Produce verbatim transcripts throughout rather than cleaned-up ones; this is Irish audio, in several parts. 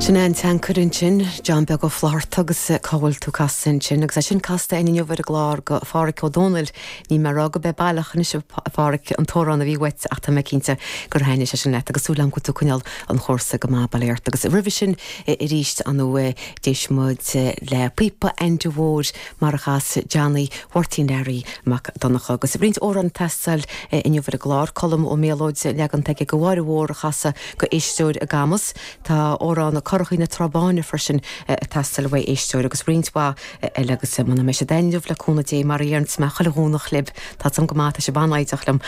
Sin an teancair ansin John Beag Ó Flatharta agus cá bhfuil tú casta ansin, agus é sin casta inniu ar an gclár go Pháraic Ó Dónaill ní mar go be baileach anois Pháraic an t-amhrán a bhí uait ach tá mé cinnte gur thaitnigh sé sin leat agus súil agam go bhfuil tú ag coinneáil an chúrsa go maith bail ort agus roimhe sin arís an d'éist muid le píopa Aindí Mhóir mar a chas Johnny Mháirtín Learaí Mac Donncha agus roinnt amhrán ag teastáil inniu ar an gclár Colm Ó Méalóid leagan aige go Mháire Mhór a chasadh go éisteoir i gCamus Tá amhrán Curachaí na Trá Báine freisin ag teastáil ó éisteoir agus roinnt mhaith eile agus muna mbeidh sé inniu le cúnamh Dé mar a deireann mé chuile Dhomhnach libh Tá sam go maith sé banáideach liom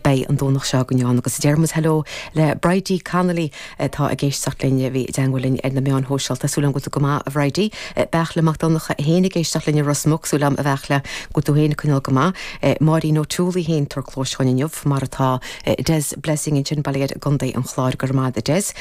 beidh an Domhnach seo go neán agus deirmuid hello le Bridie Connolly tá ag éisteacht linn bhí i dteagmháil linn ar na meáin shóisialta súil agam go maith a Bhridie Beach le Mac Donncha féin ag éisteacht linn Ros Muc súil agam a Bheachla go tú féin coinneáil go maith Máirín O'Toole féin tar clós inniu mar atá Des Blessing ansin bail air i gContae an Chláir go raibh maith Des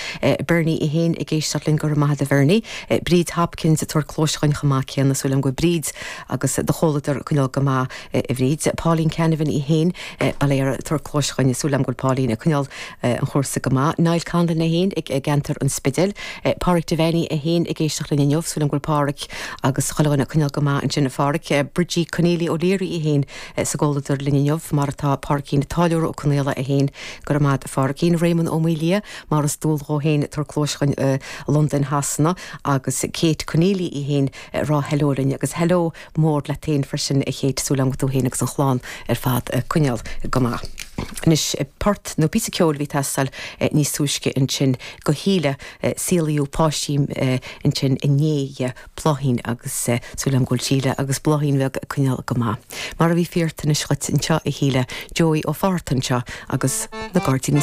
Bernie í féin ag éisteacht linn go raibh maith agat a Bhernie Bríd Hopkins tar clós chuin chumá céanna súil agam go Bríd agus do chomhluadar coinneáil go maith a Bhríd. Pauline Canavan í féin bail air tar clós chuin súil agam go Pauline ag coinneáil an chúrsa go maith. Niall Conlon é féin ag gceantar an Spidéil, Pádraig Devaney é féin ag éisteacht linn inniu súil agam go bhfuil Pádraig agus chuile coinneáil go maith ansin a Phádraig Bridgie Conneely O'Leary í féin sa gcomhluadar linn inniu mar atá Pádraigín Táilliúir Ó Conaola é féin go raibh maith Phádraigín Raymond Ó Maolia mar is dual dhó féin tar clós chuin Londain Shasana agus Kate Conneely í féin rá hello linn agus hello mór le féin freisin a Kate súil agam go tú féin agus an chlann ar fad coinneáil go maith. Anois port nó píosa ceoil bhí ag teastáil níos túisce ansin go híle saolaíodh páistí ansin inné Bláithín agus súil agam go bhfuil Síle agus Bláithín bheag coinneáil go maith. Mar a bhí fíort anois chuit anseo a híle Joey Ó Fátharta anseo agus na gairdíní